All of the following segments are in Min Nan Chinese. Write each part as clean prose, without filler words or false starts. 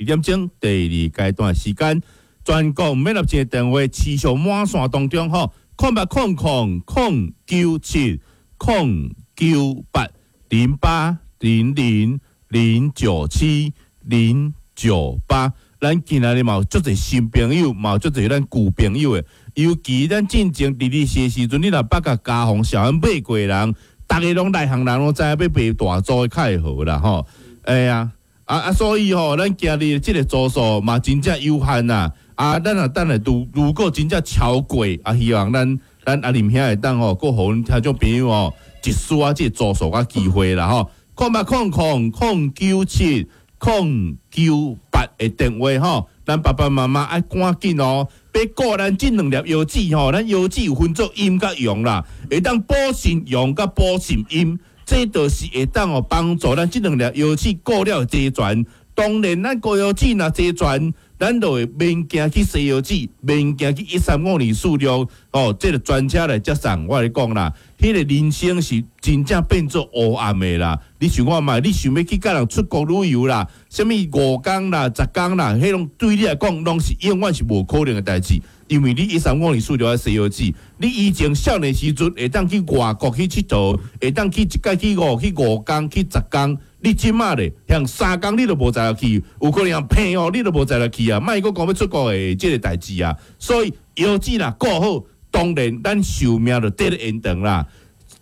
2點鐘，第二階段時間，全國免入線電話持續滿線當中吼，0800 097 098 0800 097 098。咱今仔日嘛有足濟新朋友，嘛有足濟咱舊朋友的。尤其咱進前佇咧時時陣，你若捌共嘉宏小安買過的人，逐个攏內行人攏知影欲買大組的較會好啦吼。哎呀，啊啊，所以吼，咱今日這个組數嘛真正有限啦。啊，咱若等下如果真正超過，啊，希望咱阿林兄會當吼，閣予阮聽眾朋友吼一絲仔這個組數佮機會啦吼。0800 097 098的電話吼，咱爸爸媽媽愛趕緊哦，欲顧咱這兩粒藥子吼，咱藥子有分做陰佮陽啦，會當補腎陽佮補腎陰，這就是會當哦幫助咱這兩粒藥子顧了齊全。當然，咱高藥子若齊全，咱就會免驚去西藥子，免驚去135246哦，這个專車來接送。我來講啦，彼个人生是真正變做烏暗的啦。你想看覓？你想欲去佮人出國旅遊啦？啥物5工啦、10工啦，彼攏對你來講攏是永遠是無可能的代誌。因為你135246愛西藥子，你以前少年時陣會當去外國去𨑨迌，會當去一擺去5工去10工。你這馬咧，像3工你都無才力去，有可能像騙哦，你都無才力去啊！莫閣講欲出國的這个代誌啊！所以藥子若顧好，當然咱壽命就得延長啦。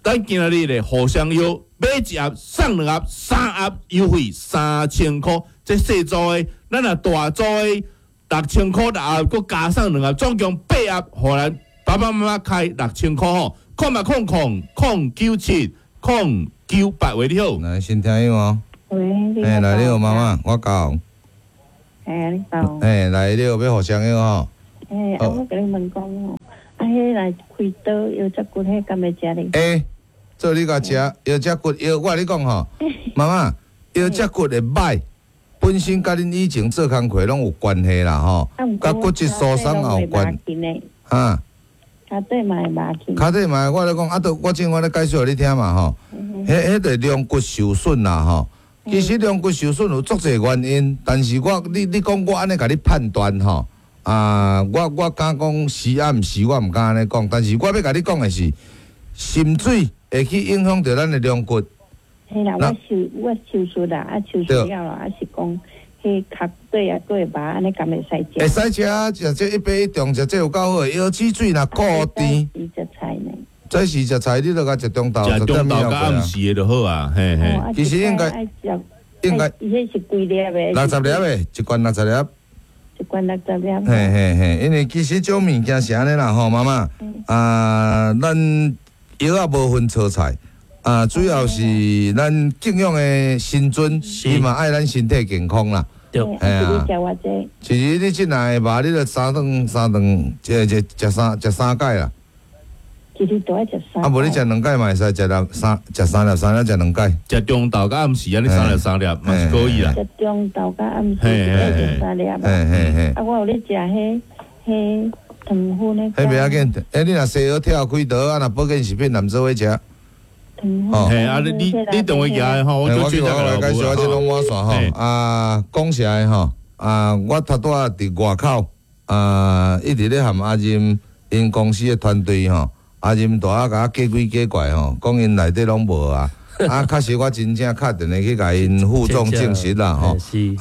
咱今仔日咧互相藥買一盒送兩盒，三盒優惠3000箍。這細組的，咱若大組的6000箍六盒，閣加送兩盒，總共八盒，予咱爸爸媽媽開6000箍吼。0800 097 098，喂，你好。來，新聽友哦。喂，你欸，來，你好，媽媽，我講。欸，你好。欸，來，你好，欲互相藥吼。欸，啊，我共你問講哦，啊，彼來開刀腰脊骨，彼敢會食咧？欸，做你共食腰脊骨藥，我共你講吼，媽媽，腰脊骨會䆀，本身佮恁以前做工課攏有關係啦吼，佮骨質疏鬆也有關。哈。跤底嘛會麻去。跤底嘛，我咧講啊，都我正我咧解釋予你聽嘛吼。彼彼个龍骨受損啦吼，其實龍骨受損有足濟原因，但是我你講我按呢共你判斷吼，啊，我敢講是啊，毋是，我毋敢按呢講，但是我欲共你講的是，滲水會去影響著咱的龍骨。嘿啦，我手術啦，啊手術了啦，啊是講彼跤底啊，閣會麻，按呢敢會使食？會使食啊，食這一八一中，食這有夠好的，腰子水若固甜。食菜呢？早時食菜，你著共食中晝，食中晝佮暗時的就好啊，嘿嘿。其實應該應該，伊彼是幾粒的？60粒的，一罐六十粒。一罐六十粒。嘿嘿嘿，因為其實這種物件是按呢啦吼，媽媽啊，咱藥仔無分錯菜啊，主要是咱敬仰的神尊，伊嘛愛咱身體健康啦。對，嘿啊。其實你這若會麻，你著三頓三頓，這這食三食三擺啦。一日都愛食三。啊，無你食兩擺嘛會使，食兩三食三粒三粒食兩擺。食中晝佮暗時按呢三粒三粒嘛是可以啦。食中晝佮暗時一擺食三粒。嘿嘿嘿。啊，我有咧食彼彼糖粉的。彼袂要緊，欸，你若西藥跳開刀啊，若保健食品含做伙食。哦，嘿，啊，你等會來吼，我我我來介紹我這攏滿線吼，啊，講實在吼，啊，我頭拄仔佇外口，啊，一直咧和阿任𪜶公司的團隊吼，阿任大仔共我假鬼假怪吼，講𪜶內底攏無啊，啊，確實我真正敲電話去共𪜶副總證實啦吼，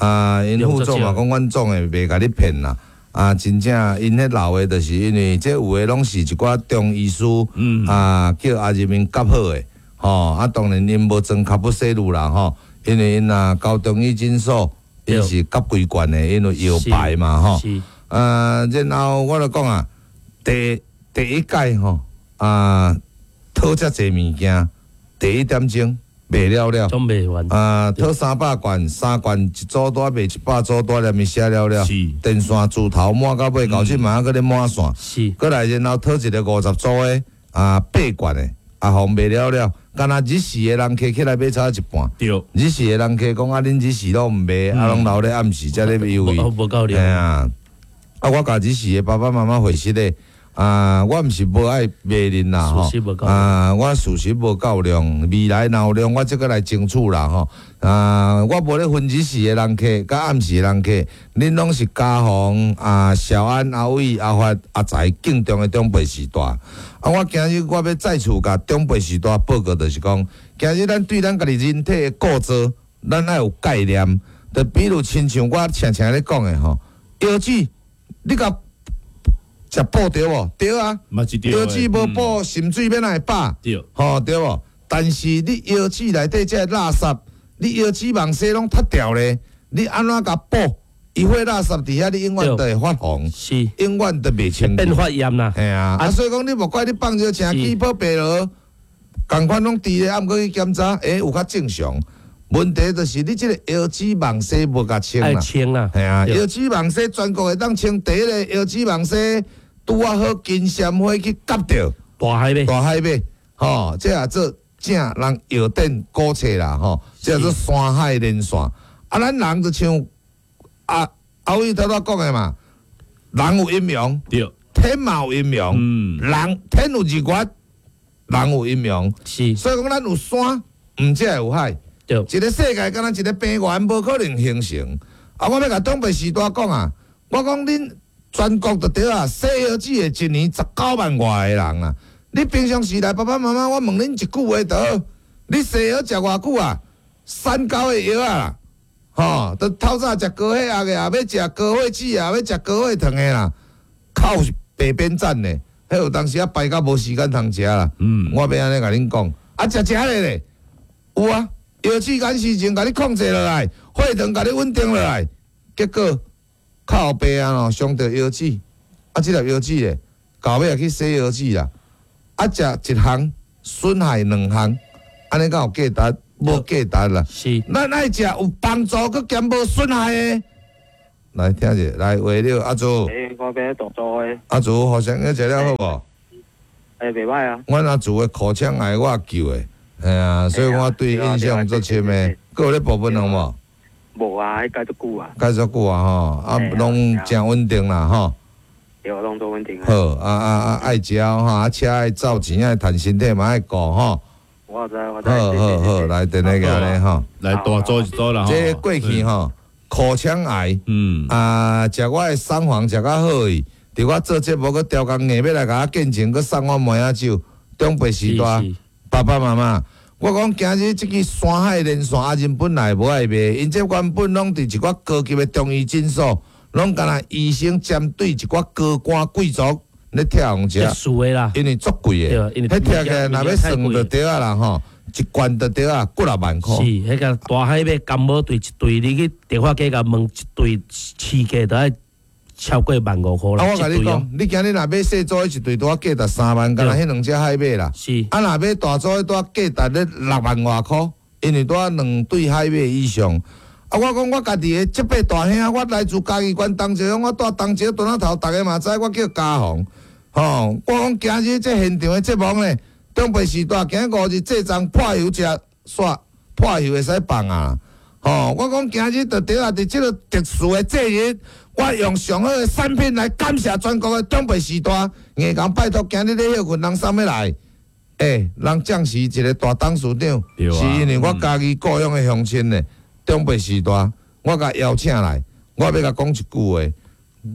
啊，𪜶副總嘛講阮總的袂共你騙啦，啊，真正𪜶彼老的，就是因為這有的攏是一寡中醫師，啊，叫阿任𪜶夾好的。吼，啊，當然𪜶無裝卡布西魯啦，吼，因為𪜶若高中醫診所，𪜶是夾規罐的，因為藥牌嘛，吼。啊，然後我就講啊，第一屆吼，啊，討遮濟物件，第一點鐘賣了了，總賣完。啊，討300罐，三罐一組拄賣100組，拄連伊寫了了。電線柱頭滿到尾，到這馬閣咧滿線。閣來然後討一个50組的，啊，八罐的，啊，予賣了了。敢若日時的人客起來買差一半。日時的人客講啊，恁日時攏毋賣，啊，攏留咧暗時才咧優惠。無夠量。啊，啊，我共日時的爸爸媽媽回實咧，啊，我毋是無愛罵恁啦吼，啊，我事實無夠量，未來若有量，我這閣來爭取啦吼。啊，我無咧分日時的人客，佮暗時的人客，恁攏是嘉宏啊、小安、阿偉、阿發、阿財敬重的長輩序大。啊，我今日我欲再次共長輩序大報告，就是講，今日咱對咱家己人體的構造，咱愛有概念。就比如親像我常常咧講的吼，腰子，你共食補對無？對啊，腰子無補，腎水欲哪會飽？對，吼對無？但是你腰子內底這个垃圾，你腰子網紗攏脫掉咧，你按怎共補？伊血垃圾佇遐，你永遠都會發紅，是，永遠都袂清。變發炎啦。嘿啊，啊，所以講你莫怪你放尿青起泡白螺，仝款攏佇咧，啊，毋過去檢查，欸，有較正常。問題就是你這个腰子網紗無共清啦。清啦。嘿啊，腰子網紗全國會當清第一个腰子網紗。拄仔好金鮮花去夾著大海馬，大海馬，吼，這也做正人藥典古冊啦，吼，這叫做山海連線。啊，咱人就像阿阿偉頭拄仔講的嘛，人有陰陽，對，天嘛有陰陽，人天有日月，人有陰陽，是，所以講咱有山，毋才會有海，對，一个世界敢若一个平原，無可能形成。啊，我欲共長輩序大講啊，我講恁。全國就對啊，洗腰子的一年19萬外个人啊！你平常時來爸爸媽媽，我問恁一句話就好，你洗藥食偌久啊？三高的藥啊，吼，都透早食高血壓的，也欲食高血脂，也欲食高血糖的啦，靠白邊站的，彼有當時啊排到無時間通食啦。我欲按呢共恁講，啊食食咧咧，有啊，藥子間時陣共你控制落來，血糖共你穩定落來，結果。靠背啊咯，傷著腰子，啊，這粒腰子咧，到尾也去洗腰子啦。啊，食一項損害兩項，按呢敢有價值？無價值啦。是，咱愛食有幫助，閣兼無損害的。來聽者，來話了，阿祖。欸，我欲大祖的。阿祖，互相約一了好無？欸，袂歹啊。阮阿祖的口腔癌我救的，嘿啊，所以我對伊印象足深的。閣有咧補糞無？無啊，彼改足久啊，改足久啊吼，啊，攏誠穩定啦吼。對，攏足穩定。好，啊啊啊，愛食吼，啊車愛走，錢愛趁，身體嘛愛顧吼。我知，我知。好好好，來電話過來吼，來大組一組啦。這過去吼，口腔癌，啊，食我的三黃食較好去，佇我做節目閣調工硬欲來共我見證，閣送我麥仔酒，長輩序大，爸爸媽媽。我講今日這支山海連線阿仁本來無愛賣，𪜶這原本攏佇一寡高級的中醫診所，攏干焦醫生針對一寡高官貴族咧拆予食。因為足貴的，彼拆起來若欲算就對啊啦吼，一罐就對啊，幾若萬箍。是，彼个大海馬感冒對一對，你去電話機共問一對市價都愛超過15,000箍啦。啊，我共你講，你今日若買細組的一對，拄仔價值3萬，干焦彼兩隻海馬啦。是。啊，若買大組的，拄仔價值咧6萬外箍，因為拄仔兩對海馬以上。啊，我講我家己的這輩大兄，我來自嘉義縣東石鄉，我住東石墩仔頭，逐家嘛知我叫嘉宏。吼，我講今日這現場的節目呢，長輩序大，今日5日這欉破油食煞，破油會使放啊。吼，我講今日就對啊，佇這个特殊的節日。我用上好的產品來感謝全國的長輩序大，硬共拜託，今日咧歇睏，人送欲來？欸，人暫時一个大董事長，是因為我嘉義故鄉的鄉親呢，長輩序大，我共邀請來，我欲共講一句話，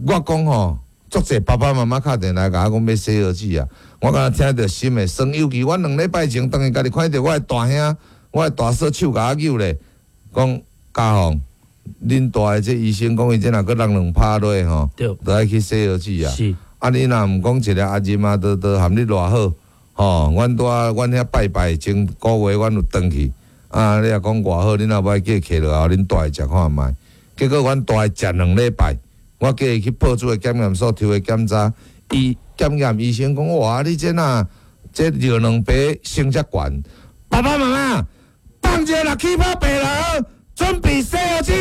我講吼，足濟爸爸媽媽敲電話共我講欲洗腰子啊，我敢若聽著心會酸，尤其我兩禮拜前轉去家己看著我的大兄，我的大嫂手共我扭咧，講嘉宏。恁大的這醫生講，伊這若閣落兩拍落吼，就愛去洗腰子啊。是。啊，你若毋講一个阿仁啊，都含你偌好，吼，阮拄仔阮遐拜拜前個月，阮有轉去。啊，你若講偌好，恁若欲叫伊客落來，予恁大的食看覓。結果阮大的食兩禮拜，我叫伊去報紙的檢驗所抽的檢查，伊檢驗醫生講，哇，你這若這尿兩白升遮懸，爸爸媽媽，放尿若起泡白螺。準備洗腰子，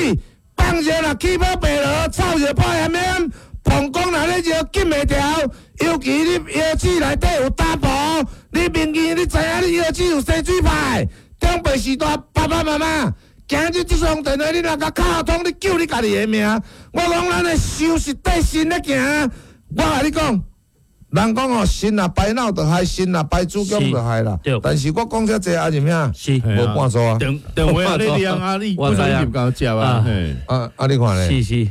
放尿若起泡白螺，臭尿破炎炎，膀胱若咧尿禁袂牢，尤其你腰子內底有膽婆，你明見你知影你腰子有生水泡，長輩序大，爸爸媽媽，今日這通電話你若共敲通，你救你家己的命。我講咱的想是對身咧行，我共你講，人講哦，腎若排腦就害，腎若排子宮就害啦。但是我講遮濟啊，是咩？是無半數啊。電電話你念啊，你本身入夠接啊。啊啊，你看咧？是是，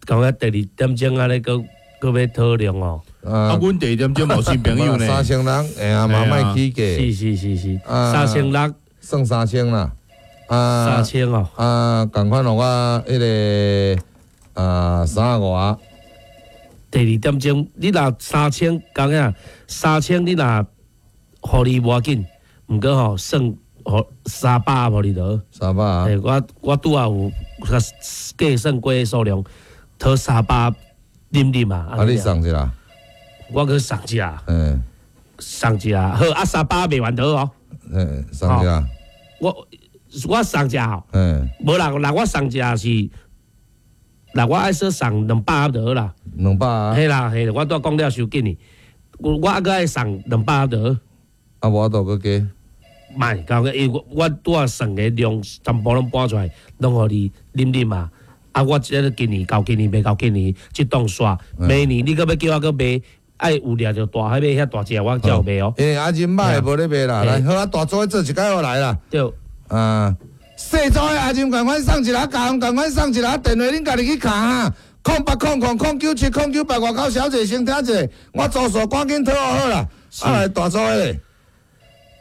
講到第二點鐘啊，你閣閣欲討論哦。啊，阮第二點鐘無新朋友呢。3000人，哎呀，嘛莫起價。是是是是，3600，算3000啦。啊，3000哦。啊，仝款哦，我彼个啊35啊。第二點鐘，你若三千，講啊，三千你若予你無要緊，毋過吼算予300予你著。三百啊！我拄仔有計算過數量，討三百啉啉啊。啊，你送一下？我閣送一下。嗯。送一下，好啊，三百賣完著哦。嗯，送一下。我送一下。嗯。無啦，若我送一下是。嗱，我愛說送200盒就好啦。200啊？嘿啦，嘿，我拄講了傷緊哩，我猶閣愛送200盒就好。啊，無法度閣加。莫，講因為我拄仔算的量全部攏搬出來，攏予你啉啉啊。啊，我這個今年到今年賣到今年，這檔煞明年你閣欲叫我閣賣，愛有掠著大彼馬遐大隻，我才有賣哦。欸，啊，人買的無咧賣啦，來，好啊，大組做一擺我來啦。對。啊。細組的阿任仝款送一下，共仝款送一下，電話恁家己去敲啊，0800 097 098，外口小姐先聽者，我做數趕緊討好啦。啊，來大組的咧，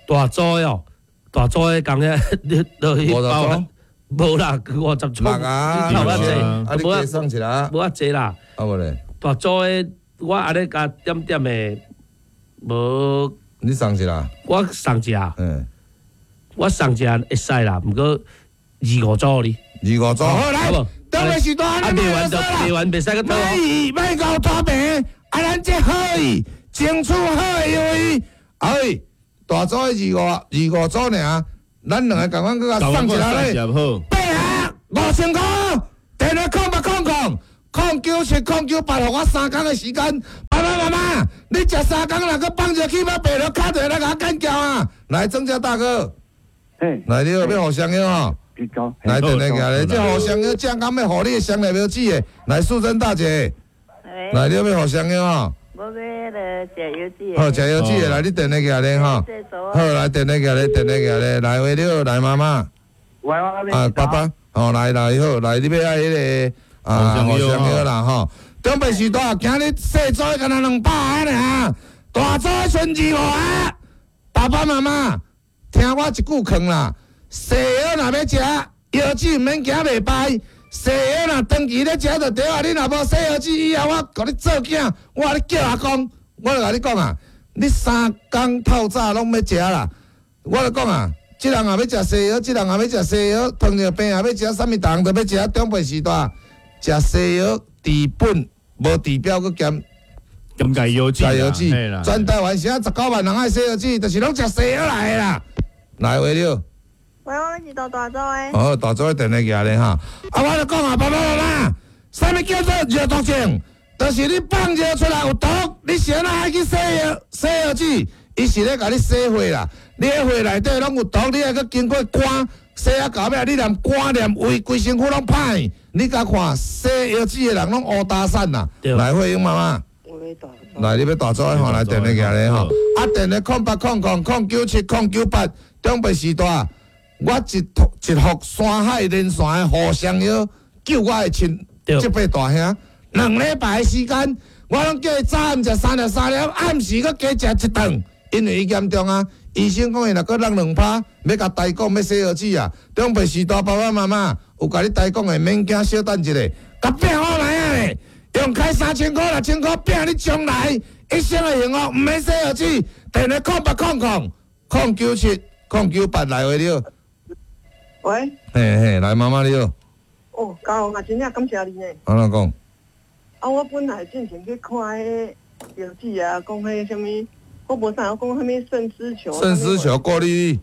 大組的哦，大組的共遐你落去包，無啦，50組，六啊，無遐濟，啊，你加送一下，無遐濟啦。啊無咧，大組的我按呢共點點的，無。你送一下？我送一下。嗯。我送一下會使啦，毋過25組哩。25組，好來，當然是大，你賣完就賣完袂使閣討。賣夠大平，啊，咱這好伊，爭取好的優惠。哎，大組的25組爾，咱兩个仝款閣共送一下咧。八盒5000箍，電話0800 097 098，予我3工的時間。爸爸媽媽，你食3工若閣放熱氣要白了，敲電話來共我幹譙啊！來，曾家大哥。來，你好，欲予雙藥吼。來，電話寄來，這予雙藥正剛欲予你的雙粒藥子的。來，素貞大姐，來，你欲予雙藥吼。無欲彼个食藥子。好，食藥子的，來，你電話寄來吼。好，來電話寄來，電話寄來，來話你好，來媽媽。啊，爸爸，哦，來來好，來你欲愛彼个啊，予雙藥啦吼。長輩時代，今日細組的干焦200个爾，大組的剩25个。爸爸媽媽。聽我一句勸啦，西藥若欲食，藥子毋免驚袂排。西藥若長期咧食就對啊，你若無洗藥子以後，我共你做囝，我咧叫阿公，我就共你講啊，你3工透早攏欲食啦。我就講啊，這人也欲食西藥，這人也欲食西藥，糖尿病也欲食，啥物逐項都欲食。長輩時代食西藥治本無治標，閣兼兼解藥子，全台灣啥19萬人愛洗藥子，就是攏食西藥來的啦。來話了，喂，我是大組的。哦，大組的電話寄來哈。啊，我就講啊，爸爸媽媽，啥物叫做尿毒症？就是你放尿出來有毒，你是按怎愛去洗藥？洗藥子，伊是咧共你洗血啦。你彼血內底攏有毒，你愛閣經過肝洗啊到尾，你連肝連胃規身軀攏歹。你共看洗藥子的人攏烏焦散啦。來，慧英媽媽。來，你欲大組的吼，來電話寄來吼。啊，電話0800 097 098。長輩時代，我一幅山海連線的互相藥救我的親這輩大兄。2禮拜的時間，我攏叫伊早暗食3粒3粒，暗時閣加食一頓，因為伊嚴重啊。醫生講伊若閣落2趴，欲共台講欲洗藥子啊。長輩時代爸爸媽媽有共你台講的，免驚，小等一下，共拼好來啊咧，用開3000箍6000箍拼你將來一生的幸福，毋免洗藥子。電話0800 097 098來話了。喂。嘿嘿，來媽媽你好。哦，嘉宏啊，真正感謝你呢。按怎講？啊，我本來進前去看彼個藥子啊，講彼啥物，我無啥，我講啥物腎絲球。腎絲球過濾。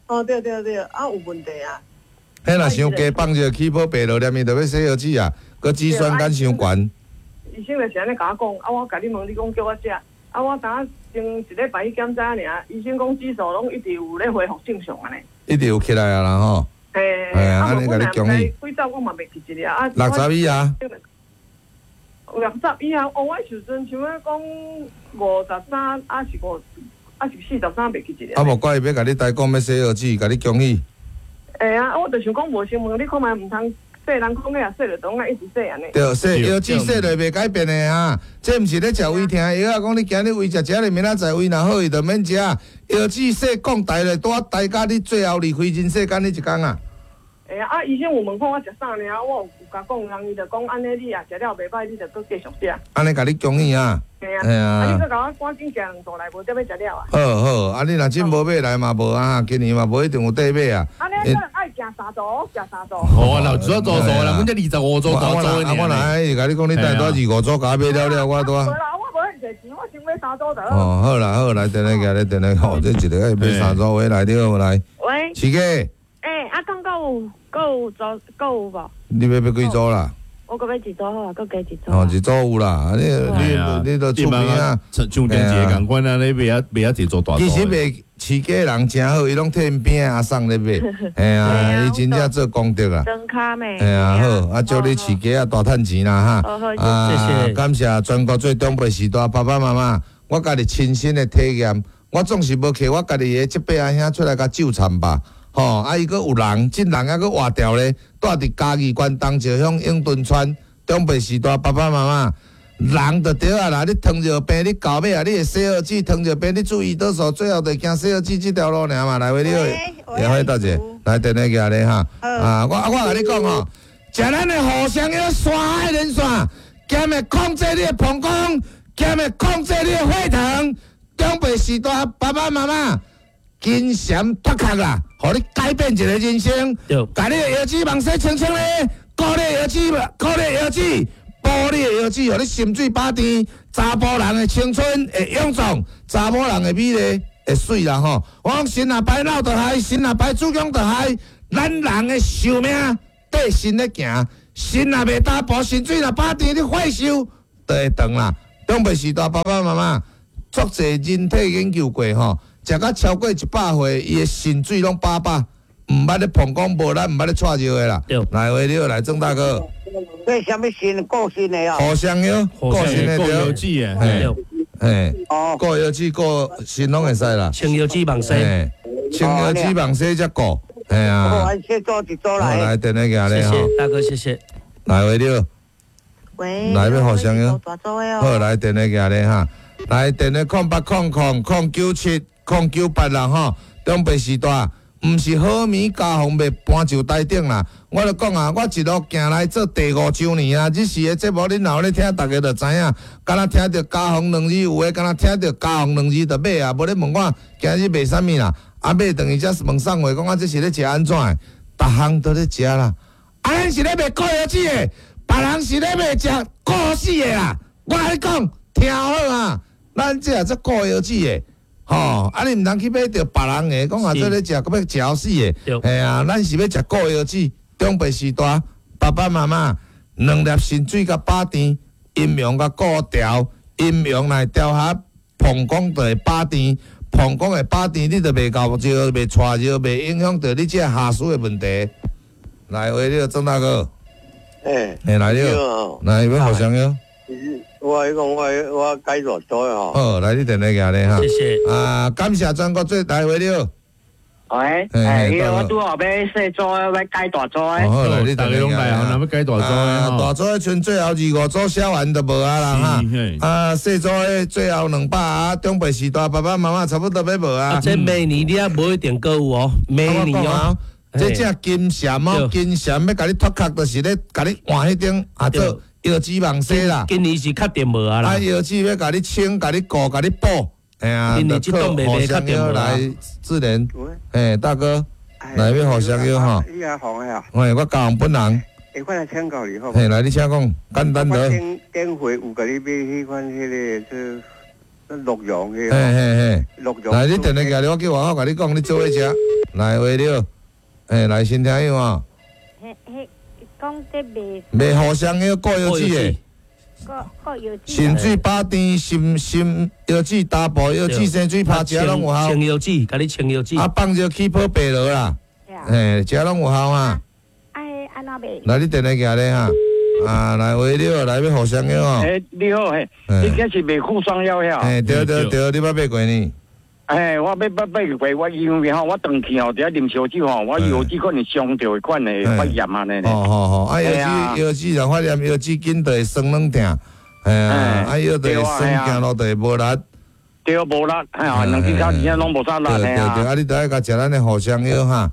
哦，對對對，啊有問題啊。彼若傷低放熱氣泡白落，連伊就欲洗藥子啊，閣肌酸酐傷懸。醫生就是按呢共我講，啊，我共你問，你講叫我食，啊，我昨前一禮拜去檢查爾，醫生講指數攏一直有咧恢復正常按呢。一直有起來啊啦吼。嘿，啊，按呢共你恭喜。幾早我嘛袂記一個啊。60以啊。60以后，哦，我时阵像仔讲53，还是5，还是43，袂记一啊，无怪伊欲共你代讲欲洗腰子，共你恭喜。会啊，我就想讲无先问你看觅，毋通洗人讲个啊，洗就当啊一直洗按呢。对，洗腰子洗落袂改变的啊，这毋是咧食胃疼药啊，讲你今日胃食食咧，明仔载胃若好，伊就免食。腰子洗讲台咧，拄仔台甲你最后离开人世间彼一工啊。会啊，啊，医生有问看我食啥尔，我有共讲，人伊就讲按呢，你也食了袂歹，你就阁继续食。按呢共你恭喜啊！嘿啊，啊，你阁共我赶紧行两组来，无才欲食了啊。好好，啊，你若真无买来嘛无啊，今年嘛无一定有得买啊。按呢，可能爱行三组，食三组。好啊，老主要做数啦，阮这25组大组的。啊，我若爱共你讲，你等下拄25组共我买了了，我拄。无啦，我无遐济钱，我先买三组就好。哦，好啦好，来电话过来，电话吼，这一个爱买三组话来你好来。喂。市哥。欸，啊，讲阁有组阁有无？你欲买几组啦？我阁买一组好啊，阁加一组。哦，一组有啦，你都厝边啊，像电视仝款啊，你袂晓袂晓一组大组。其实卖市价人诚好，伊拢替𪜶边仔阿送咧买，嘿啊，伊真正做功德啊。装卡咩？嘿啊，好，啊，祝你市价啊大趁钱啦哈。啊，谢谢。感谢全国最长辈时代爸爸妈妈，我家己亲身的体验，我总是无摕我家己的这伯阿兄出来共纠缠吧。吼，啊！伊阁有人，这人犹阁活掉咧，住伫嘉义县东石乡永敦村，长辈时代爸爸妈妈，人就对啊啦！你糖尿病，你到尾啊，你会洗腰子，糖尿病你注胰岛素，最后就行洗腰子这条路尔嘛。来，喂你好，也欢迎大姐来电话寄来哈。啊，我共你讲吼，食咱的互相药山海连线，兼会控制你的膀胱，兼会控制你的血糖。长辈时代爸爸妈妈。金蝉脱壳啦，予你改变一个人生。共你的腰子网洗清清咧，顾你的腰子，顾你的腰子，补你的腰子，予你心水饱甜。查埔人的青春会勇壮，查某人的美丽会媠啦吼。我讲神若排脑就害，神若排子宫就害，咱人的寿命缀神咧行，肾若袂打补，心水若饱甜，你血寿就会长啦。长辈时代爸爸妈妈，足济人体研究过吼。食到超过100岁，伊的肾水拢饱饱，毋捌咧膀胱无力，毋捌咧掣尿的啦。来，喂，你好，来郑大哥。这啥物肾顾肾的哦？互相药，顾肾的对。腰子的，嘿，嘿，哦，顾腰子顾肾拢会使啦。清腰子网洗，清腰子网洗才顾，嘿啊。好，先做一组来。来，电话寄来谢谢大哥，谢谢。来，喂，你好。喂。来，欲互相药。好，来电话寄来哈。来，电话0800 097。098啦吼，长辈时代，毋是好物加红袂搬就台顶啦。我就讲啊，我一路行来做第5周年啊，这时的节目恁若有咧听，逐家就知影。敢若听著加红两字有的，敢若听著加红两字就买啊，无咧问我今日卖啥物啦。啊买转去才问送货，讲啊这是咧食按怎的？逐项都咧食啦。啊，咱是咧卖固药子的，别人是咧卖食固死的啦。我共你讲，听好啊，咱这也做固药子的。吼，啊！你毋通去买著别人的，讲啊，做咧食，阁欲食死的。嘿啊，咱是欲食固药子。长辈时代，爸爸妈妈两粒肾水共饱甜，阴阳共顾调，阴阳来调和，膀胱就会饱甜，膀胱会饱甜，你就袂搞尿，袂掣尿，袂影响著你这下属的问题。来，喂，你好，郑大哥。欸，欸，来了，来，欲互相药。我讲我改大组的吼。好，来你电话寄来哈。谢谢。啊，感谢全国最大会了。喂，欸，我拄好欲细组的，欲改大组的。好，来你逐家拢来啊，若欲改大组的。大组的剩最后25组写完就无啊啦哈。啊，细组的最后200啊，长辈时代爸爸妈妈差不多欲无啊。这明年你也无一定阁有哦，明年哦。这只金蝉哦，金蝉欲共你脱壳，就是咧共你换彼种啊做。腰子网洗啦，今年是确定无啊啦。啊，腰子欲共你清、共你顾、共你补，哎呀，今年这档袂袂确定无来自然，哎，大哥，来欲互相药吼。你阿红的啊？喂，我高雄本人。欸，我来请教你好。嘿，来，你请讲，简单的。顶顶回有共你买彼款彼个做鹿茸彼个。嘿嘿嘿。鹿茸。来，你电话寄来，我叫外口共你讲，你做伙食。来，喂你好，哎，来新听友啊。嘿嘿。讲这卖卖互相药顾腰子的，顾腰子，肾水饱甜，心心腰子打补腰子，生水拍食拢有效。清腰子，共你清腰子。啊，放热起泡白螺啦，嘿，食拢有效啊。啊，按怎卖？来，你电话寄来哈。啊，來喂你好，來欲互相藥哦。欸，你好，嘿，你這是賣富雙藥遐？嘿，對對對，你捌買過呢？嘿，我欲捌買過，我因為吼，我轉去吼，佇遐啉燒酒吼，我腰子可能傷著的款的發炎按呢。哦哦哦，啊腰子腰子若發炎，腰子緊就會酸軟疼，嘿啊，啊腰就會酸，行路就會無力。對，無力，嘿啊，兩隻跤真正攏無啥力，對對對，啊，你著愛共食咱的互相藥哈。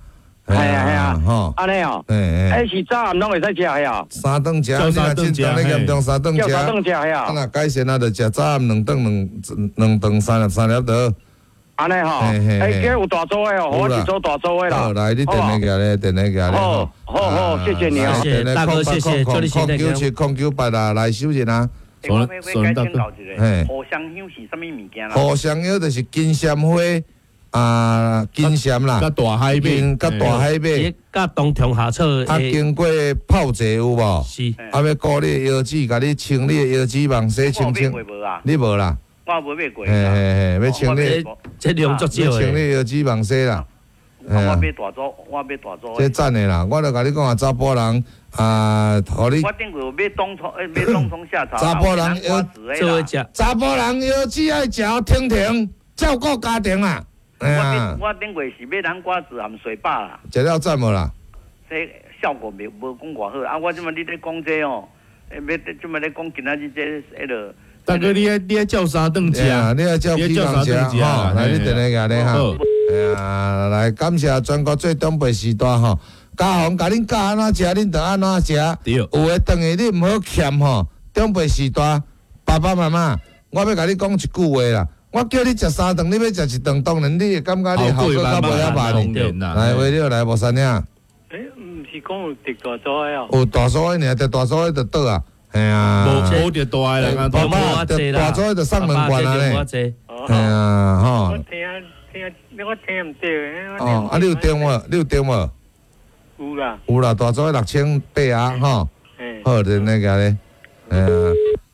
係啊係啊，吼，按呢哦，欸，是早暗攏會使食的哦。三頓食，你若進前咧嚴重三頓食，三頓食的啊。啊若改善啊，就食早暗兩頓兩兩頓三粒三粒就。按呢吼，欸，這有大組的哦，我一組大組的啦。好，來，你電話寄咧，電話寄咧。好，好好，謝謝你啊，謝謝大哥，謝謝，祝你身體空九七空九八啊，來收人啊。我欲改請教一下，荷香香是啥物物件啦？荷香香就是金萱花。啊，金萱啦，佮大海馬，佮大海馬，佮冬蟲夏草，啊，經過泡茶有無？是。啊，欲顧你的腰子，共你清你的腰子網洗清清。你無啦？我無買過。嘿嘿嘿，欲清你，這量足少的。清你腰子網洗啦。我買大組，我買大組。這讚的啦，我著共你講啊，查埔人啊，予你。我頂過有買冬蟲，買冬蟲夏草。查埔人腰做食。查埔人腰子愛食停停，照顧家庭啊。我頂過是買南瓜子含水飽啦，食了讚無啦？這效果袂無講偌好啊！我這擺你咧講這哦，欲這擺咧講今仔日這彼落。大哥，你愛你愛照三頓食，你愛照幾頓食吼？來，你電話寄咧哈。啊，來感謝全國最長輩時代吼，家訪共恁教按怎食，恁就按怎食。有的頓去你毋好欠吼，長輩時代爸爸媽媽，我欲共你講一句話啦。我叫你食三頓，你欲食一頓，當然你會感覺你效果較無遐慢。來，為了來無三兄。欸，毋是講有得大組的哦。有大組的爾，得大組的就倒啊，嘿啊。無無得大的啦，爸爸得大組的就送兩罐啊咧。嘿啊，吼。我聽聽，我聽毋著。哦，啊，你有訂無？你有訂無？有啦。有啦，大組的6800啊，吼。好，就那個咧，哎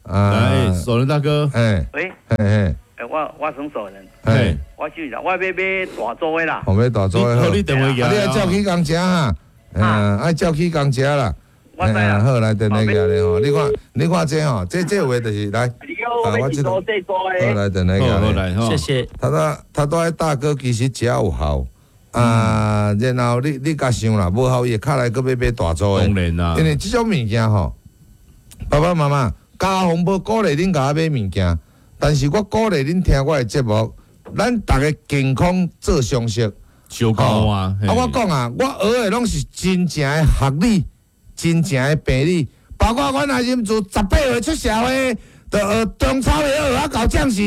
啊，來，守仁大哥。哎。喂。嘿嘿。我我算素人，嘿，我就是我欲買大組的啦。我買大組的好。你電話啊，你愛照起工食哈，嗯，愛照起工食啦。我知啦。好，來電話寄來吼，你看，你看這吼，這這話就是來。啊，我這好來電話寄來。謝謝。他拄仔大哥其實食有效，啊，然後你你共想啦，無效伊會敲來閣欲買大組的。當然啦。因為這種物件吼，爸爸媽媽家訪無鼓勵恁共我買物件。但是我鼓勵恁聽我的節目，咱逐家健康做常識，相交啊！啊，我講啊，我學的攏是真正的學理，真正的病理，包括阮阿任自18歲出社會，就學中草藥學啊到這時，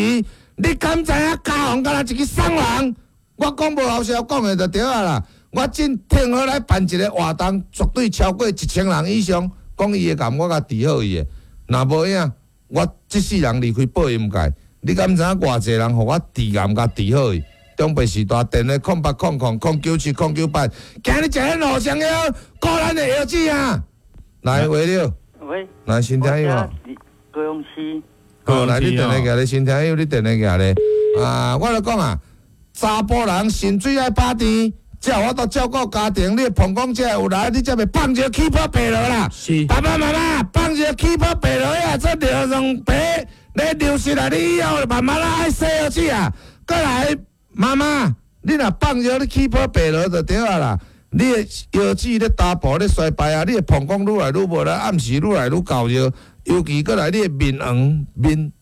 你敢知影家訪敢若一個送人？我講無好笑講的就對啊啦。我真聽好來辦一個活動，絕對超過1000人以上，講伊的癌，我共治好伊的，若無影。我這世人離開報音界，你敢知影偌濟人予我治癌共治好伊？長輩時代電話0800 097 098，今日食咱互相藥，顧咱的腰子啊！來，喂了，喂，來新聽友吼，高雄市。好，來你電話寄咧，新聽友你電話寄咧。啊，我來講啊，查埔人腎水愛拍甜，才有法度照顧家庭。你膀胱才會有力，你才袂放尿起泡白落啦。是。爸爸媽媽放尿起泡白落啊，這尿兩白咧流失啊！你以後慢慢仔愛洗腰子啊。閣來，媽媽，你若放尿你起泡白落就對啊啦。你的腰子咧打薄咧衰敗啊，你的膀胱愈來愈無力，暗時愈來愈厚尿，尤其閣來你的面黃面。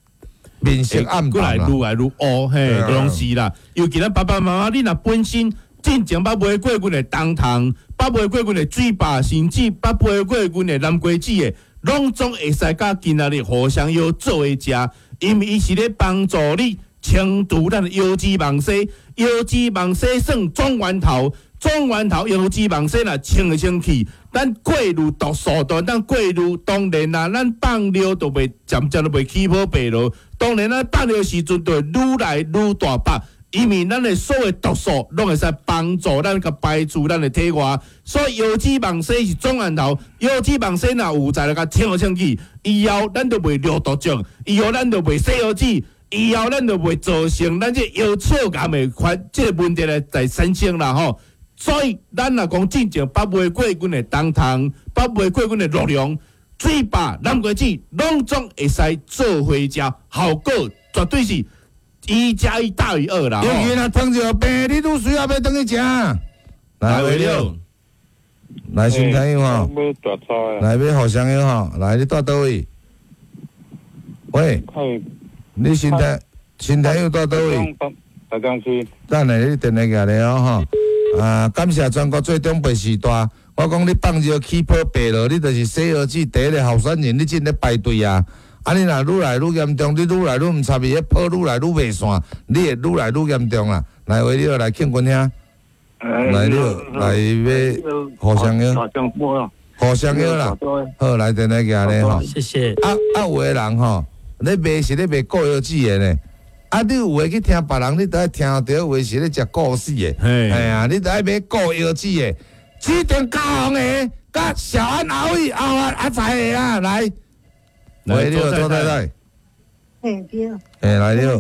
面色暗閣來愈來愈烏，嘿，攏是啦。尤其咱爸爸媽媽，你若本身進前捌買過阮的冬蟲，捌買過阮的水壩，甚至捌買過阮的南瓜子的，攏總會使佮今仔日互相藥做伙食，因為伊是咧幫助你清除咱的腰子網絲，腰子網絲算總源頭，總源頭腰子網絲若清會清去，咱過濾毒素，咱過濾當然啊，咱放尿就袂漸漸就袂起泡白落。當然咱放尿時陣就會愈來愈大包。因為咱的所有毒素攏會使幫助咱共排除咱的體外，所以腰子網絲是總源頭。腰子網絲若有在來共清清去，以後咱就袂尿毒症，以後咱就袂洗腰子，以後咱就袂造成咱這腰鞘癌的發這個問題來在產生啦吼。所以咱若講進前捌買過阮的冬蟲，捌買過阮的鹿茸，水饱、南瓜子，攏總會使做伙食，效果絕對是1加1大於2啦。尤其若糖尿病，你愈需要欲轉去食。來，魏了，來新朋友吼，來欲互相友吼，來你蹛佗位？喂，你新聽新朋友蹛佗位？台中市。等下你電話寄來哦吼。啊，感謝全國做長輩時代，我講你放尿起泡白落，你就是洗藥水第一个候選人，你進咧排隊啊。啊，你若愈來愈嚴重，你愈來愈毋插伊，彼泡愈來愈袂散，你會愈來愈嚴重啦。來，話你來慶軍兄，來你來欲互相藥，互相藥啦。好，來電話寄來吼。謝謝。啊啊，有的人吼，咧賣是咧賣固藥劑的呢。啊！你有的去聽別人，你都愛聽著有的是咧食固死的，嘿啊！你都愛買固藥劑的，指定加紅的，佮小安阿偉阿阿財的啊，來，喂，你好，周太太，嘿對，嘿來了，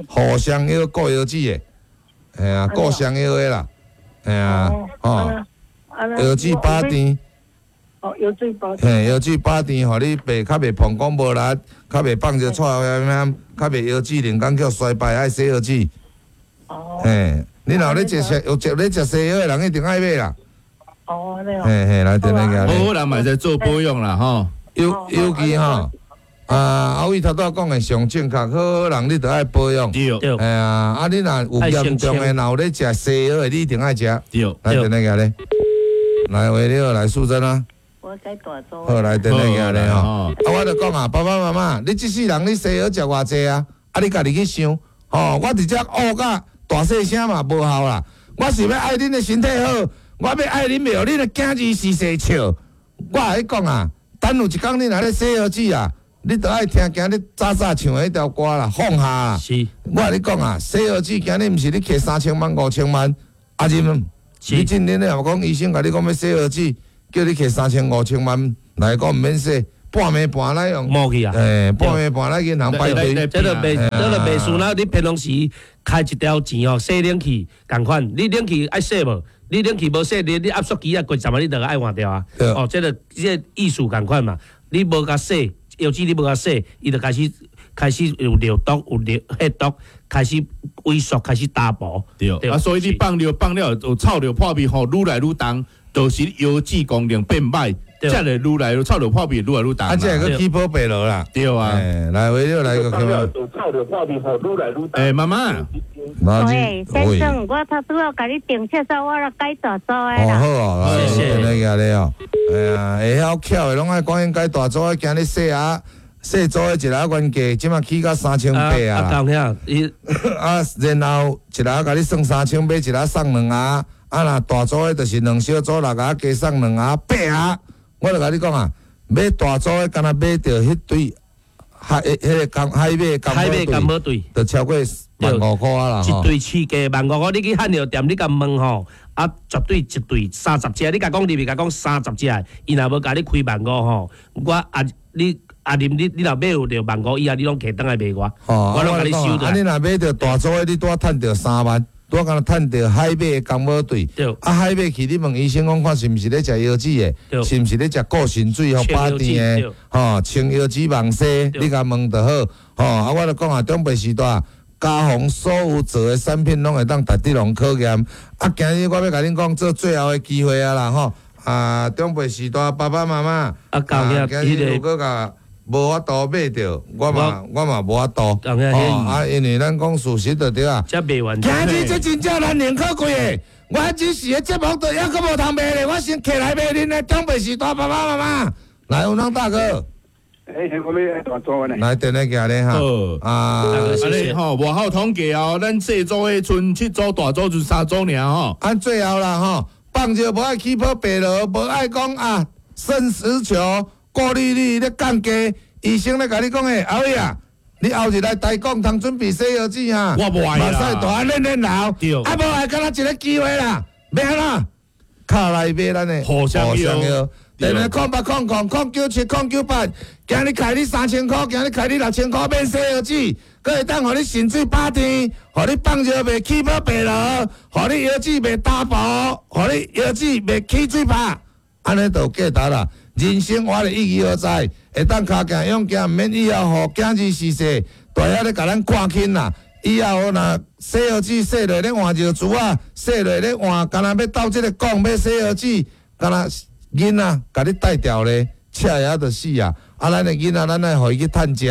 互相藥固藥劑的，嘿啊，固雙藥的啦，嘿啊，吼，藥劑飽甜。哦，藥水飽甜。嘿，藥水飽甜，予你袂較袂膀胱無力，較袂放尿臭遐，較袂腰子靈感叫衰敗，愛洗腰子。哦。嘿，你若有咧食西，有食咧食西藥的人一定愛買啦。哦，按呢哦。嘿嘿，來電話寄來。好人嘛會使做保養啦，吼。尤其吼，啊，阿偉頭拄仔講的上正確，好人你著愛保養。對。嘿啊，啊你若有嚴重的，若有咧食西藥的，你一定愛食。對。來電話寄來。來，喂，你好，來素貞啊。我改大組。好，來電話寄來吼。啊，我就講啊，爸爸媽媽，你這世人你西藥食偌濟啊？啊，你家己去想，吼，我佇遮烏甲大細聲嘛無效啦。我是欲愛恁的身體好，我欲愛恁袂予恁的囝兒時時笑。我共你講啊，等有一工你若咧洗腰子啊，你著愛聽今日早早唱的彼條歌啦，放下啦。是。我共你講啊，洗腰子今日毋是你摕3000萬、5000萬，啊，恁，你今日你若講醫生共你講欲洗腰子。叫你摕3000、5000萬來講毋免洗，半暝半來用。無去啊！欸，半暝半來銀行排隊。這個袂，這個袂輸啦！你平常時開一條錢吼，洗冷氣仝款，你冷氣愛洗無？你冷氣無洗，你壓縮機啊，過站啊，你就愛換掉啊。哦，這個這個意思仝款嘛。你無共洗，藥水你無共洗，伊就開始有尿毒，有尿血毒，開始萎縮，開始打薄。對。啊，所以你放尿放了有臭尿破味吼，愈來愈重。就是腰子功能變歹，才會愈來愈臭尿破味，愈來愈重。啊，這個起泡白落啦。對啊，來，為了來個什麼？欸，媽媽。喂，先生，我頭拄仔共你訂廁所，我來改大組的啦。哦，好哦，謝謝。你你哦，哎呀，會曉巧的攏愛趕緊改大組的，今日細啊細組的一个原價，這馬起到3800啊。啊，啊，然後一个共你算3000，買一个送兩盒。啊！若大組的，就是兩小組六盒，加送兩盒八盒。我就共你講啊，買大組的，敢若買著彼對海，彼個海馬金寶對，就超過15,000箍啊啦。一對市價15,000箍，你去漢藥店，你共問吼，啊，絕對一對30隻，你共講入去，共講30隻，伊若無共你開15,000吼，我啊你。啊！你你若買有著15,000以後，你攏提轉來賣我，我攏共你收著。啊！你若買著大組的，你拄仔趁著3萬。我敢若趁著海馬的金寶隊，啊海馬去你問醫生講看是毋是咧食藥子的，是毋是咧食固腎水予飽甜的，吼清藥子網西，你共問就好，吼啊我就講啊，長輩時代，家防所有做的產品攏會當值得人考驗，啊今日我欲共恁講做最後的機會啊啦吼，啊長輩時代爸爸媽媽，啊今日如果共無法度買著，我嘛無法度。哦，啊，因為咱講事實就對啊。今日這真正難能可貴的，我只是个節目都猶閣無通賣咧，我先摕來賣恁的長輩時代爸爸媽媽。來，有人大哥。欸，我欲大組呢。來，電話寄咧哈。啊，按呢吼，外口統計哦，咱細組的賰七組，大組賰3組爾吼。按最後啦吼，放尿無愛起泡白落，無愛講啊，腎實球。過濾率咧降低，醫生咧共你講的，阿偉啊，你後日來台講通準備洗藥水啊，我無愛啦，目屎大練練流，啊無愛，敢若一個機會啦，欲按怎？卡來買咱的互相藥，電話0800 097 098，今日開你3000箍，今日開你6000箍免洗藥水，閣會當予你腎水飽甜，予你放尿袂起泡白落，予你腰子袂打薄，予你腰子袂起水泡，按呢就有價值啦。人生活的意義何在？會當跤行勇行，毋免以後予囝兒逝世，大遐咧共咱看輕啦。以後若洗藥水洗落咧換尿珠仔，洗落咧換，敢若欲鬥這个講欲洗藥水，敢若囡仔共你帶牢咧，赤也就死啊！啊，咱的囡仔，咱愛予伊去趁食，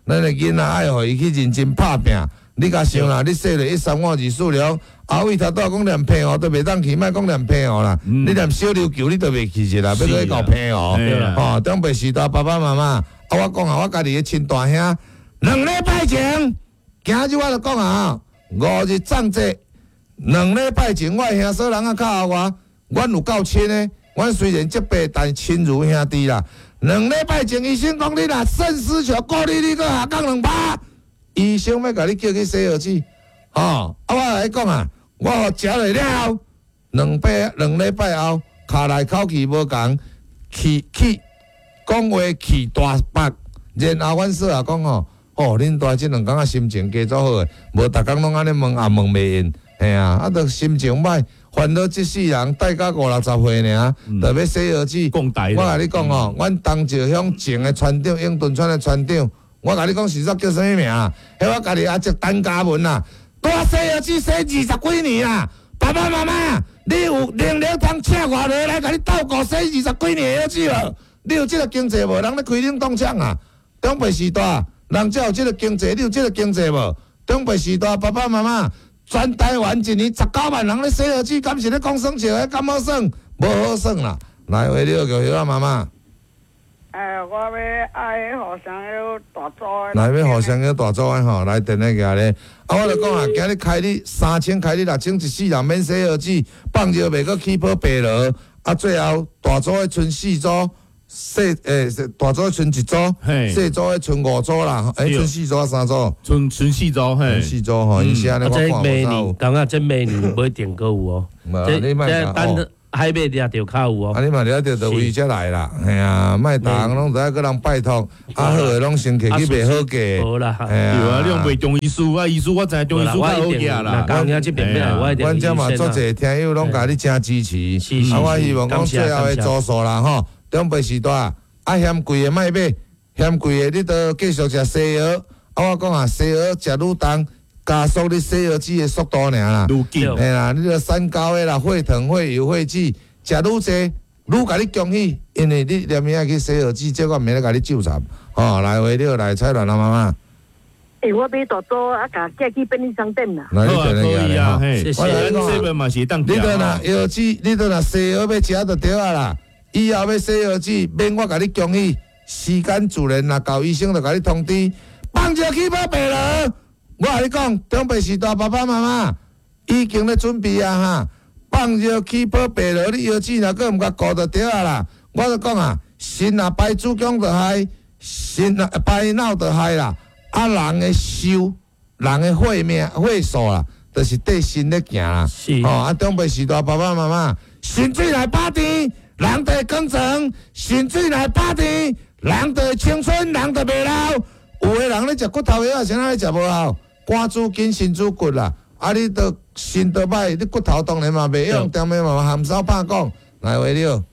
咱的囡仔愛予伊去認真拍拚。你共想啦，你洗落一三五二四六，阿偉頭拄仔講連澎湖都袂當去，莫講連澎湖啦，你連小琉球你都袂去一啦，欲閣去到澎湖，吼，長輩時代爸爸媽媽，啊，我講啊，我家己的親大兄，2禮拜前，今日我就講啊，5日藏節，2禮拜前，我的兄嫂人啊較後我，阮有夠親的，阮雖然這輩，但親如兄弟啦。2禮拜前，醫生講你若腎絲球過濾率閣下降2%。醫生欲共你叫去洗藥水，吼！啊，我來講啊，我予食落了後，2禮拜後，尻來口氣無仝，氣氣講話氣大白，然後阮嫂也講吼，哦，恁大這兩工啊心情加足好的，無逐工攏按呢問也問袂應，嘿啊，啊，著心情歹，煩惱這世人帶到五六十歲爾，著欲洗藥水。我共你講吼，阮東石鄉前的村長，永敦村的村長。我共你講，實在叫啥物名啊？彼我家己阿叔陳嘉文啊，拄洗藥水洗20幾年啊！爸爸媽媽，你有能力通請我落來共你鬥顧洗20幾年的藥水無？你有這个經濟無？人咧開冷凍廠啊！長輩時代，人才有這个經濟，你有這个經濟無？長輩時代，爸爸媽媽，全台灣一年19萬人咧洗藥水，敢是咧講耍笑？彼敢好耍？無好耍啦！來，話你叫葉仔媽媽。我欲愛予雙腰大組的。來，欲予雙腰大組的吼，來電話寄來。啊，我就講啊，今日開你3000，開你6000，一世人免洗藥水，放尿袂閣起泡白螺。啊，最後大組的賰4組，細大組的賰1組，細組的賰5組啦。賰4組啊，3組？賰4組，嘿。賰4組吼，伊是按呢，我看無啥有。感覺這明年買定閣有哦。這等。海馬掠著較有哦，啊！你嘛掠著就為遮來啦，嘿啊，莫逐項攏著愛閣人拜託，啊好的攏先摕去賣好價，無啦，對啊，你用賣中醫師啊，醫師我知影中醫師較好額啦。阮遮嘛足濟聽友攏共你誠支持，啊，我希望講最後的組數啦吼，長輩時代啊嫌貴的莫買，嫌貴的你著繼續食西藥，啊我講啊西藥食愈重。加速你洗藥水的速度爾啦，嘿啦，你著三高的啦，血糖、血油、血脂，食愈濟，愈共你恭喜，因為你連命愛去洗藥水，這我毋免咧共你糾纏，吼，來話你來彩蘭阿媽媽。我買大組啊，共寄去便利商店啦。來，好啊，可以啊，嘿，謝謝。你著若藥水，你著若西藥欲食就對啊啦，以後欲洗藥水，免我共你恭喜，時間自然若到醫生就共你通知，放尿起泡白螺。我共你講，長輩時代爸爸媽媽已經咧準備啊哈，放尿起泡白螺，你藥水若閣毋共顧就對啊啦。我就講啊，腎若排子宮就害，腎若排腦就害啦。啊，人的壽，人的歲命、歲數啦，就是綴腎咧行啦。吼，啊，長輩時代爸爸媽媽，腎水若飽甜，人就會剛壯；腎水若飽甜，人就會青春，人就袂老。有的人咧食骨頭藥，啥咧食無效？肝主筋，腎主骨啦。啊，你都腎都歹，你骨頭當然嘛袂用，當然嘛含梢拍講。來，話了。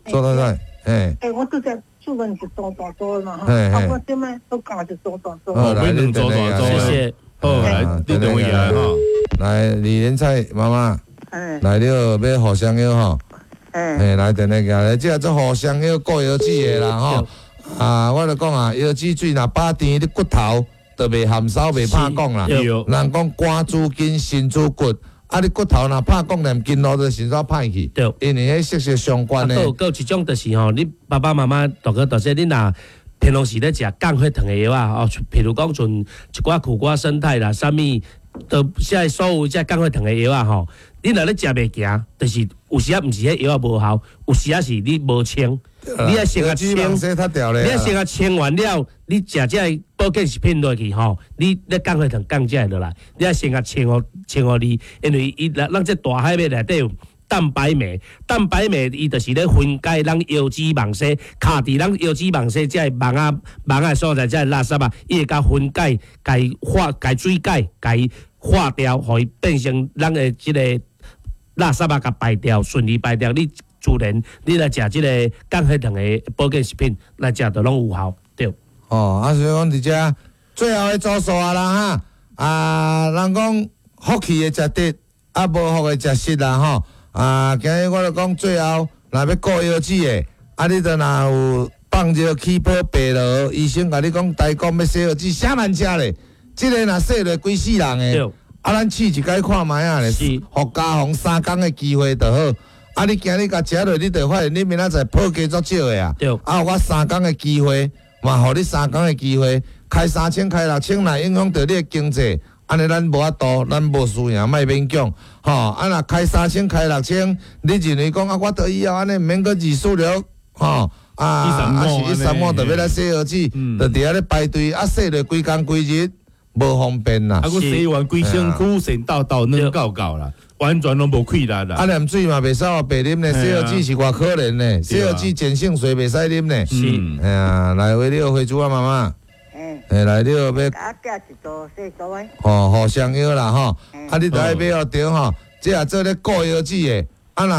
左太太，欸，我拄才出门是做大组嘛，哈，啊，我這擺都教是做大组。好，来，两组大组，謝謝。好，來，你等位來吼。來，李連菜媽媽，來了，欲予雙藥吼。嘿，來，電話過來，這做予雙藥顧腰子的啦吼。啊，我就講啊，腰子水若飽甜，你骨頭就袂含梢，袂拍講啦。人講肝主筋，腎主骨，啊，你骨頭若拍講，連筋路就腎煞歹去。對，因為彼息息相關的。啊，閣有一種就是吼，你爸爸媽媽大哥大姐，你若平常時咧食降血糖的藥啊，哦，譬如講像一寡苦瓜胜肽啦，啥物，都這所有這降血糖的藥啊吼，你若咧食袂行，就是有時啊毋是彼藥仔無效，有時啊是你無清。你愛先共清，你愛先共清完了，你食這个保健食品落去吼，你咧降血糖降這个落來，你愛先共清予清予你，因為伊咱這大海馬內底有蛋白酶，蛋白酶伊就是咧分解咱腰脂肪細，卡佇咱腰脂肪細這个網仔網仔所在，這个垃圾啊，伊會共分解，共化，共水解，共化掉，予伊變成咱的這个垃圾啊，共排掉，順利排掉你。自然你來食這個降血糖的保健食品來食，就攏有效。對。哦，啊，所以講佇遮最後的組數啊啦哈，啊，人講福氣的食得，啊，無福的食失啦吼。啊，今日我就講最後，若欲顧腰子的，啊，你就若有放熱起泡白羅，醫生共你講台講欲洗腰子，啥難食咧？這个若洗落規世人的，啊，咱試一擺看覓仔咧，予加防三工的機會就好。啊，你今日共食落，你就發現你明仔載泡加足少的啊。啊，予我三工的機會，嘛，予你三工的機會，開3000，開6000，若影響著你的經濟，按呢咱無法度，咱無輸贏，莫勉強，吼。啊，若開3000，開六千，你認為講啊，我著以後按呢毋免閣二四六，吼。啊，啊是一三五就欲來洗腰子，就佇遐咧排隊，啊洗落規工規日。無方便啦，啊，閣洗完規身軀神抖抖軟厚厚啦，完全攏無氣力啦。啊，連水嘛袂使予白啉咧，洗腰子是偌可憐咧，洗腰子鹼性水袂使啉咧。是，哎呀，來喂你好，花珠仔媽媽。欸，來你好欲。啊，寄一組細組的。吼，互相藥啦吼，啊，你著愛買予著吼，這也做咧顧腰子的，啊若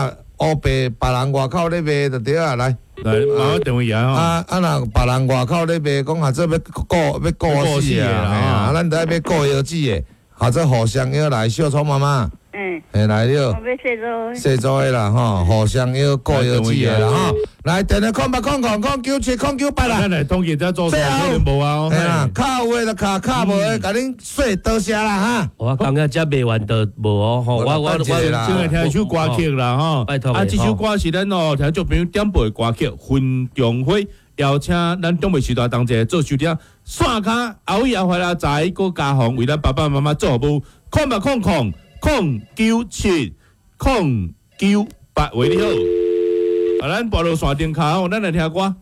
烏白別人外口咧賣就對啊，來。來，麻煩電話啊！啊啊！若別人外口咧賣，講下做欲顧欲顧死啊！啊，咱著愛買顧腰子的，下做互相藥來，小聰媽媽。嗯。嘿，來了。我欲洗組。洗組的啦吼，互相藥顧腰子的啦吼。來，電話0800 097 098啦。咱來統計這組數可能無啊。嘿啦，卡有的就卡，卡無的，共恁說多謝啦哈。我感覺這賣完就無哦，吼！我先來聽一首歌曲啦吼。拜託。啊，這首歌是咱哦聽眾朋友點播的歌曲《雲中花》，邀請咱長輩時代同齊做收聽。線跤阿偉阿懷阿仔閣家宏為咱爸爸媽媽做服務，0800 097 098，喂，你好。啊，咱撥落線頂跤哦，咱來聽歌。